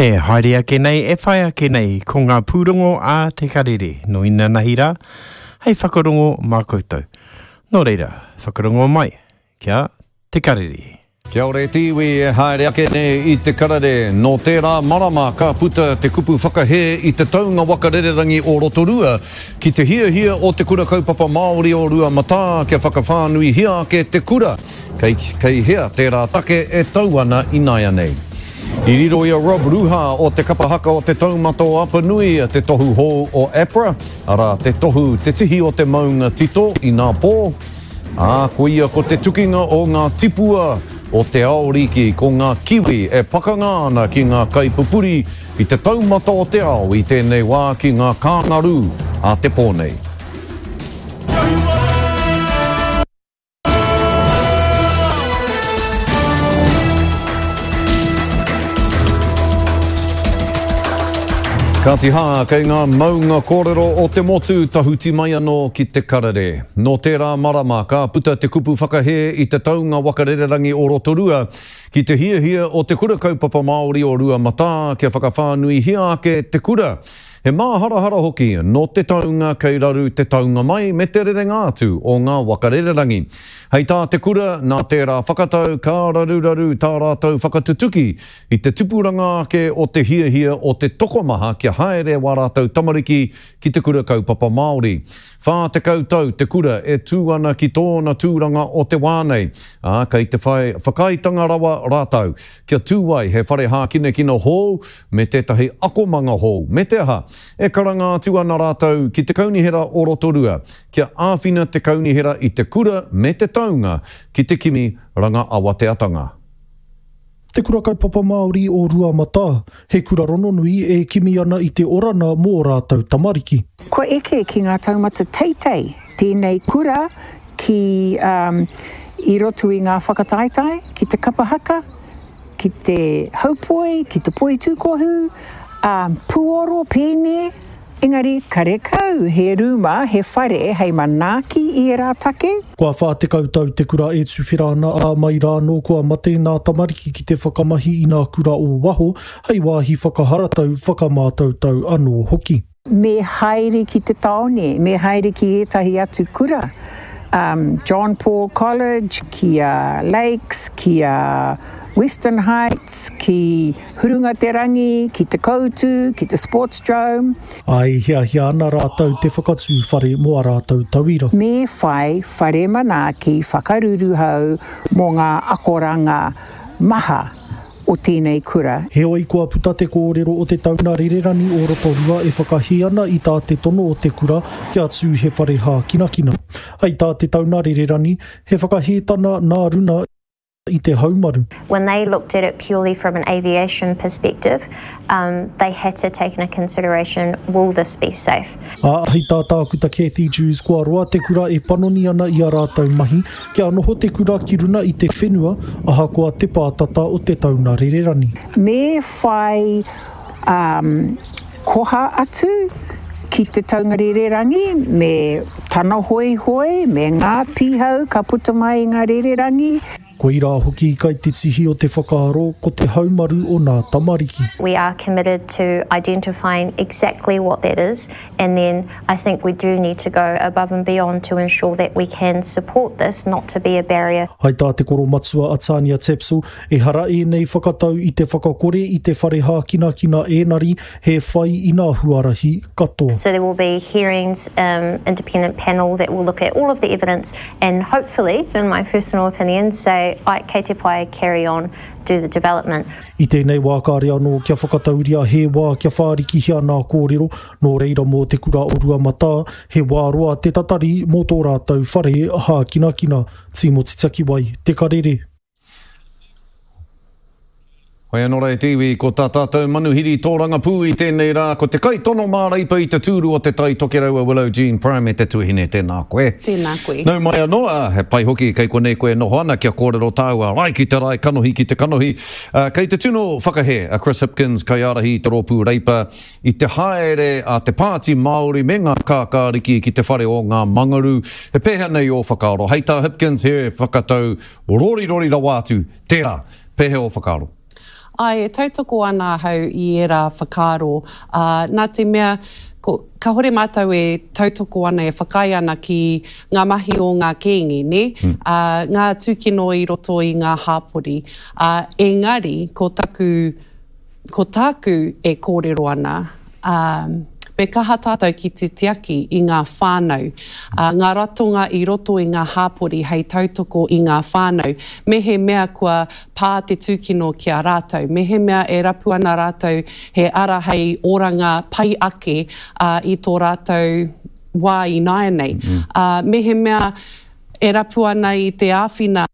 E haere ake nei, e whai ake nei, ko ngā pūrongo a Te Karere, nō inanahi rā, hei whakarongo mā koutou. Nō reira, whakarongo mai, kia Te Karere. Kia ora e te iwi e haere ake nei i Te Karere. Nō tērā marama ka puta te kupu whakahē i te taunga waka rererangi o Rotorua ki te hiahia o Te Kura Kaupapa Māori o Ruamatā kia whakawhānuihia ake te kura. Kei, kei hea tērā take e tau ana ināianei? I riro i a Rob Ruha o te kapa haka o Te Taumata o Apanui te tohu hou o APRA, arā, te tohu Te Tihi o te Maunga Tito inā pō, ā, koia ko te tukinga o ngā tipua o te ao riki, ko ngā Kiwi e pakanga ana ki ngā kaipupuri i te taumata o te ao i tēnei wā ki ngā kāngarū a te pō nei. Kāti hā, kei ngā maunga kōrero o te motu tahuti mai anō ki te karere. Nō tērā marama ka puta te kupu whakahē i te taunga waka rererangi o Rotorua ki te hiahia o Te Kura Kaupapa Māori o Ruamatā kia whakawhānuihia ake te kura. He māharahara hoki nō te taunga kei raru te taunga mai me te rerenga atu o ngā waka rererangi. Hei tā te kura, nā tērā whakatau ka raruraru tā rātou whakatutuki i te tupuranga ake o te hiahia o te tokomaha kia haere wā rātou tamariki ki te kura kaupapa Māori. 40 tau te kura e tū ana ki tōna tūranga o te wā nei, ā, kei te whai whakaaetanga rawa rātou kia tū ai he whare hākinakina hou me tētahi akomanga hou, me te aha, e karanga atu ana rātou ki te Kaunihera o Rotorua kia āwhina te kaunihera i te kura me te taunga ki te kimi ranga awateatanga. Te Kura Kaupapa Māori o Ruamatā, he kura rononui e kimi ana i te orana mō ō rātou tamariki. Kua eke ki ngā taumata teitei tēnei kura ki i roto i ngā whakataetae, ki te kapa haka, ki te haupoi, ki te poitūkohu, ā, puoro, pēne, engari karekau he rūma, he whare hei manaaki i ērā take. Kua 40 tau te kura e tuwhera ana, ā, mai rā anō kua mate nā tamariki ki te whakamahi i nā kura o waho hei wāhi whakaharatau, whakamātautau anō hoki. Me haere ki te tāone, me haere ki ētahi atu kura, um, John Paul College, ki a Lakes, ki a Western Heights, ki Hurunga Te Rangi, ki Te Koutu, ki te Sportsdrome. Ā, e hiahia ana rātou te whakatū whare mō ā rātou tauira. Me whai whare manaaki whakaruruhau mō ngā akoranga maha o tēnei kura. Heoi kua puta te kōrero o te tauna rererani o Rotorua e whakahī ana i tā te tono o te kura kia tū he whare hākinakina. Hei tā te tauna rererani, he whakahētana nā runa i te haumaru. When they looked at it purely from an aviation perspective, um, they had to take into consideration, will this be safe? Ā, hei tā Tākuta Cathy Dewes kua roa te kura e panoni ana i ā rātou mahi kia noho te kura ki runa i te whenua ahakoa te pātata o te tauna rererani. Me whai um, koha atu ki te taunga rererangi me tana hoihoi, me ngā pīhau ka puta mai i ngā rererangi. Koirā hoki kai te tihi o te whakaaro ko te haumaru o nā tamariki. We are committed to identifying exactly what that is and then I think we do need to go above and beyond to ensure that we can support this not to be a barrier. Hai tā te koromatua a Tania Tapsell, ehara ēnei whakatau i te whakakore i te whare hākinakina ēnari he whai i nā huarahi katoa. So there will be hearings, um, independent panel that will look at all of the evidence and hopefully, in my personal opinion, say, ai, kei te pai, carry on, do the development. I tēnei wā kāre anō kia whakatauria he wā kia whārikihia nā kōrero, nō reira mō te kura o Ruamatā, he wā roa te tatari mō tō rātou whare hākinakina. Tīmoti Takiwai, Te Karere. Hoi anō rā e te iwi, ko tā tātou manuhiri tōrangapū i tēnei rā, ko te kaitono māreipa i te tūru o Te Tai Tokerau a Willow Jean Prime e te tuahine, tēnā koe. Tēnā koe. Nau mai anō, ā, he pai hoki kei konei koe e noho ana kia kōrero tāua rae ki te rae, kanohi ki te kanohi. Ā, kei te tino whakahē a Chris Hipkins, kaiārahi i te rōpū Reipa, i te haere a te Pāti Māori me ngā kākāriki ki te whare o ngā Mangaru. He pēhea nei ō whakaaro? Hei tā Hipkins, he whakatau rorirori rawa atu tērā. Pēhea ō whakaaro? Āe, e tautoko ana ahau i ērā whakaaro, ā, nā te mea, ko, kāhore mātou e tautoko ana, e whakaae ana ki ngā mahi o ngā kēnge, nē, ā, ngā tūkino i roto i ngā hāpori. Ā, engari, ko taku, ko tāku e kōrero ana, ā, me kaha tātou ki te tiaki i ngā whānau, ā, ngā ratonga i roto i ngā hāpori hei tautoko i ngā whānau, mehemea kua pā te tūkino ki a rātou, mehemea e rapu ana rātou he ara hei oranga pai ake, ā, i tō rātou wā ināianei, ā, mehemea e rapu ana i te āwhina.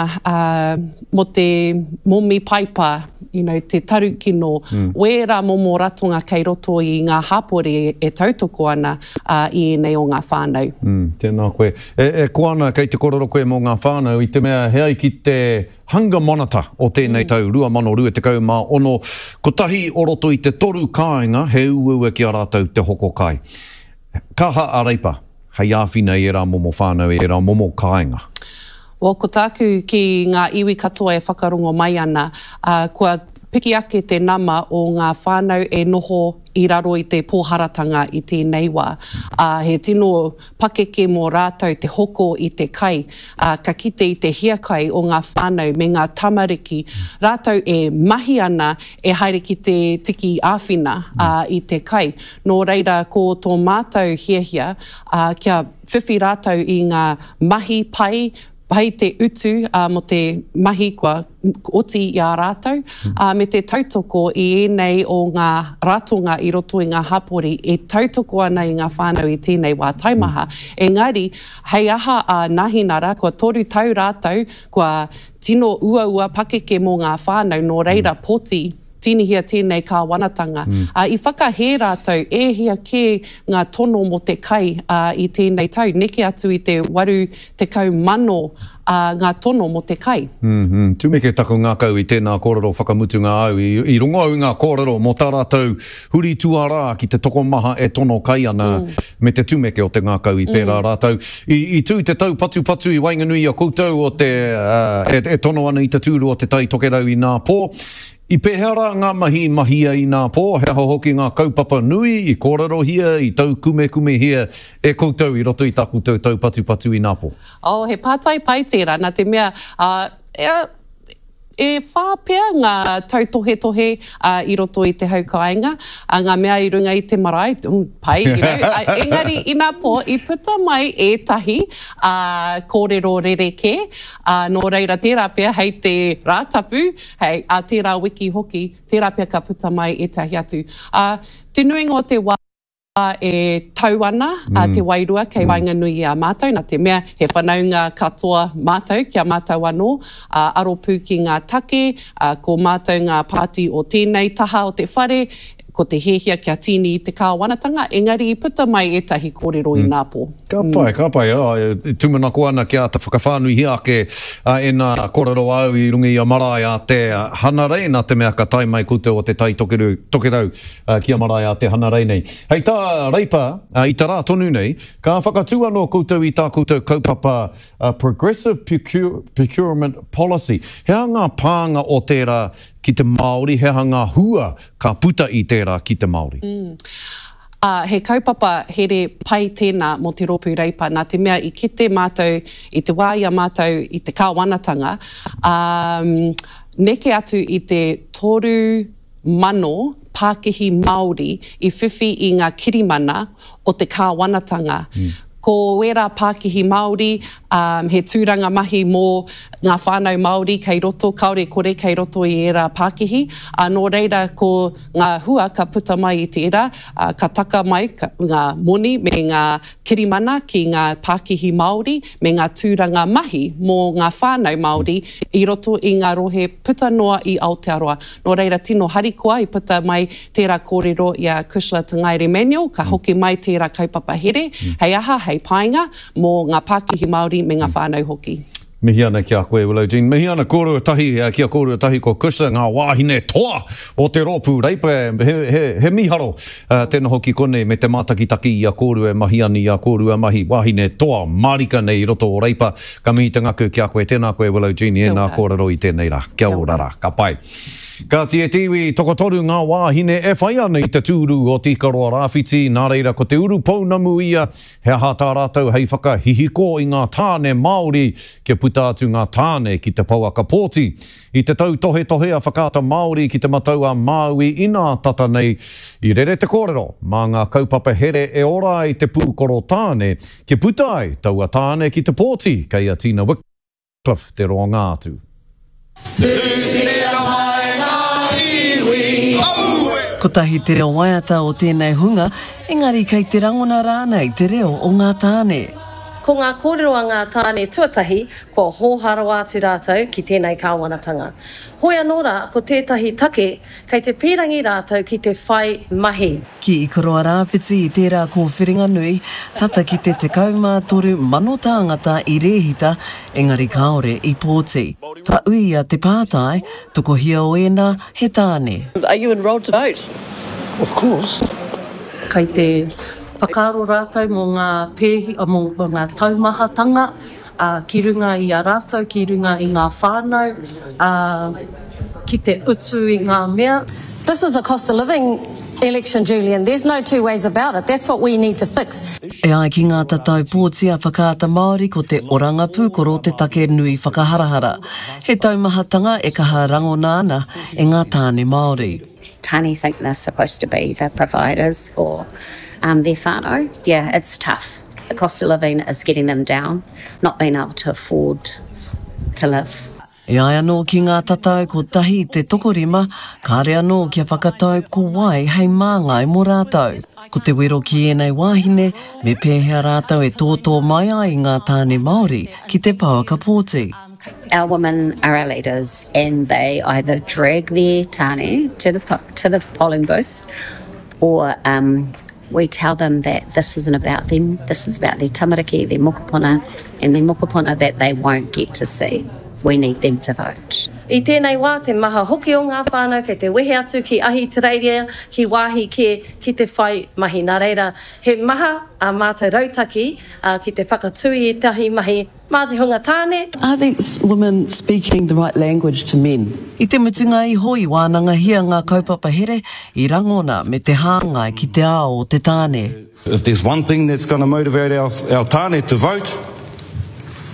ā, mō te momi paipa, you know, te tarukino, mm. wērā momo ratonga kei roto i ngā hapori e tautoko ana ā, i ēnei o ngā whānau. Mm, tēnā koe. E, e koa ana kei te korero koe mō ngā whānau i te mea he ai ki te Hunger Monitor o tēnei mm. tau 2026, kotahi o roto i te toru kāinga he uaua ki a rātou te hoko kai. Kaha a Reipa hei āwhina i ērā momo whānau, i ērā momo kāinga. Well, ko tāku ki ngā iwi katoa e whakarongo mai ana, ā, kua piki ake te nama o ngā whānau e noho i raro i te pōharatanga i tēnei wā. Ā, he tino pakeke mō rātou te hoko i te kai, ā, ka kite i te hiakai o ngā whānau me ngā tamariki, rātou e mahi ana e haere ki te tiki āwhina, ā, i te kai. Nō reira, ko tō mātou hiahia, ā, kia whiwhi rātou i ngā mahi pai, pai te utu, ā, mō te mahi kua oti i a rātou, ā, me te tautoko i ēnei o ngā ratonga i roto i ngā hapori e tautoko ana i ngā whānau i tēnei wā taimaha. Engari, hei aha a Nahinara, kua toru tau rātou, kua tino uaua pakeke mō ngā whānau, nō reira, poti. Tīnihia tēnei kāwanatanga. Ā, i whakahē rātou e hia kē ngā tono mō te kai, ā, i tēnei tau, neke atu i te 80,000, ā, ngā tono mō te kai. Mm-hmm. Tumeke taku ngākau i tēnā kōrero whakamutunga au. I, i rongo au i ngā kōrero mō tā rātou huri tuarā ki te tokomaha e tono kai ana me te tumeke o te ngākau i pērā rātou. I, i tū te taupatupatu i waenganui i a koutou o te, ā, e, e tono ana i te tūru o Te Tai Tokerau inā pō. I pēhea rā ngā mahi i mahia ināpō, he aha hoki ngā kaupapa nui i kōrerohia, i taukumekumehia e koutou i roto i tā koutou taupatupatu ināpō? Oh, he pātai pai tērā, nā te mea, ā, e whā pea ngā tautohetohe i roto i te hau kāinga, ngā mea i runga i te marae, pai, you know, engari ināpō i puta mai ētahi, ā, kōrero rerekē, ā, nō reira tērā pea hei te Rātapu, Hei, ā tērā wiki hoki, tērā pea ka puta mai ētahi atu. Ā, te nuinga o te wā e tau ana a te wairua kei waenganui i a mātou, nā te mea he whanaunga katoa mātou ki a mātou anō, ā, aro pū ki ngā take, ā, ko mātou ngā pāti o tēnei taha o te whare, ko te hiahia kia tīni i te kāwanatanga, engari i puta mai ētahi kōrero ināpō. Ka pai, ka pai. E tūmanako ana kia āta whakawhānuihia ake ēnā kōrero āu i runga i a marae a Te Hanarei, nā te mea ka tae mai koutou o Te Tai Tokerau ki a marae a Te Hanarei nei. Hei tā Reipa, i te rā tonu nei, ka whakatū anō koutou i tā koutou kaupapa Progressive Procurement Policy. He aha ngā pānga o tērā ki te Māori, he aha ngā hua ka puta i tērā ki te Māori? Ā, he kaupapa here pai tēnā mō te Rōpū Reipa, nā te mea i kite mātou i te wā i a mātou i te kāwanatanga, ā, neke atu i te 3,000 pākihi Māori i whiwhi i ngā kirimana o te kāwanatanga. Ko ērā pākihi Māori, ā, he tūranga mahi mō ngā whānau Māori kei roto, kāore kore kei roto i ērā pākihi, ā, nō reira ko ngā hua ka puta mai i tērā, ā, ka taka mai ngā moni me ngā kirimana ki ngā pākihi Māori me ngā tūranga mahi mō ngā whānau Māori i roto i ngā rohe puta noa i Aotearoa. Nō reira tino harikoa i puta mai tērā kōrero i a Cushla Te Ngaere Manuel, ka hoki mai tērā kaupapa here, hei aha, hei painga mō ngā pākihi Māori me ngā whānau hoki. Mihi ana ki a koe Willow Jean. Mihi ana kōrua tahi ki a kōrua tahi ko Cushla, ngā wāhine toa o te rōpū Reipa. He, he, he mīharo te noho ki konei me te mātakitaki i a kōrua e mahi ana i a kōrua mahi wāhine toa mārika nei i roto o Reipa. Ka mihi te ngakau ki a koe. Tēnā koe Willow Jean i ēnā kōrero i tēnei rā. Kia ora rā. Ka pai. Kāti e te iwi, tokotoru ngā wāhine e whai ana i te tūru o Te Ikaroa Rāwhiti, nā reira ko te urupounamu ia, he aha tā rātou hei whakahihiko i ngā tāne Māori kia puta atu ngā tāne ki te pouaka pōti. I te tautohetohe a Whakaata Māori ki Te Matau a Māui inā tata nei, i rere te kōrero mā ngā kaupapa here e ora ai te pūkoro tāne kia puta ai taua tāne ki te pōti kei a Tina Wickliffe te roanga atu. Tūtira mai ngā iwi, aue! Kotahi te reo waiata o tēnei hunga, engari kei te rangona rānei te reo o ngā tāne. Ko ngā kōrero a ngā tāne tuatahi, kua hōhā rawa atu rātou ki tēnei kāwanatanga. Hoi anō rā, ko tētahi take, kei te pīrangi rātou ki te whai mahi. Ki Ikaroa Rāwhiti i tērā kōwhiringa nui, tata ki te 13,000 tāngata i rēhita, engari kāore i pōti. Ka uia te pātai, tokohia o ēnā he tāne. Are you enrolled to vote? Of course. Kei te whakaaro rātou mō ngā pēhi, mō ngā taumahatanga ki runga i a rātou, ki runga i ngā whānau, ā, ki te utu i ngā mea. This is a cost of living election, Julian, there's no two ways about it, that's what we need to fix. E ai ki ngā tatau pōti a Whakaata Māori ko te oranga pūkoro te take nui whakaharahara. He taumahatanga e kaha rangona ana e ngā tāne Māori. Tane think they're supposed to be the providers for their whānau. Yeah, it's tough. The cost of living is getting them down, not being able to afford to live. E ai anō ki ngā tatau kotahi te tokorima, kāre anō kia whakatau ko wai hei māngai mō rātou. Ko te wero ki ēnei wāhine, me pēhea rātou e tōtō mai ai i ngā tāne Māori ki te pouaka pōti. Our women are our leaders and they either drag their tāne to the, to the polling booth or um, we tell them that this isn't about them, this is about their tamariki, their mokopuna, and their mokopuna that they won't get to see. We need them to vote. I tēnei wā, te maha hoki o ngā whānau kei te wehe atu ki Ahitereiria, ki wāhi kē, ki te whai mahi. Nā reira, he maha ā mātou rautaki ki te whakatū i ētahi mahi Mā te hunga tāne. Are these women speaking the right language to men? I te mutunga iho i wānangahia ngā kaupapa here i rangona me te hāngai ki te ao o te tāne. If there's one thing that's gonna motivate our our tāne to vote,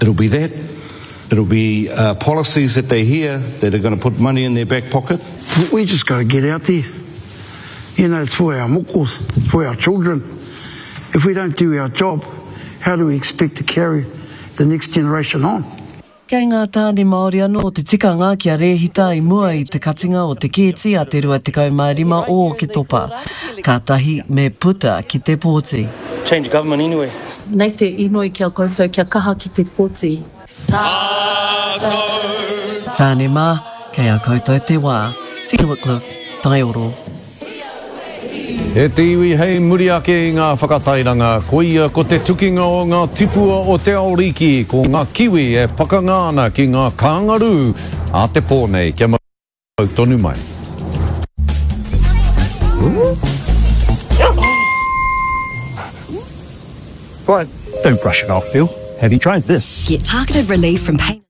it'll be that. It'll be policies that they hear that are gonna put money in their back pocket. We just gotta get out there. You know, it's for our mokos, it's for our children. If we don't do our job, how do we expect to carry the next generation on? Kei ngā tāne Māori anō te tikanga kia rēhita i mua i te katinga o te kēti a te 25 o Oketopa. Kātahi me puta ki te pōti. Change government anyway. Nei te inoi ki a koutou kia kaha ki te poti. Tātou. Tāne mā, kei a koutou te wā. Tina Wickliffe, Taioro. E te iwi hei muri ake i ngā whakatairanga, koia ko te tukinga o ngā tipua o te ao riki, ko ngā kiwi e pakanga ana ki ngā kāngarū a te pō nei. Kia mau tonu mai. But don't brush it off, Phil. Have you tried this? Get targeted relief from pain.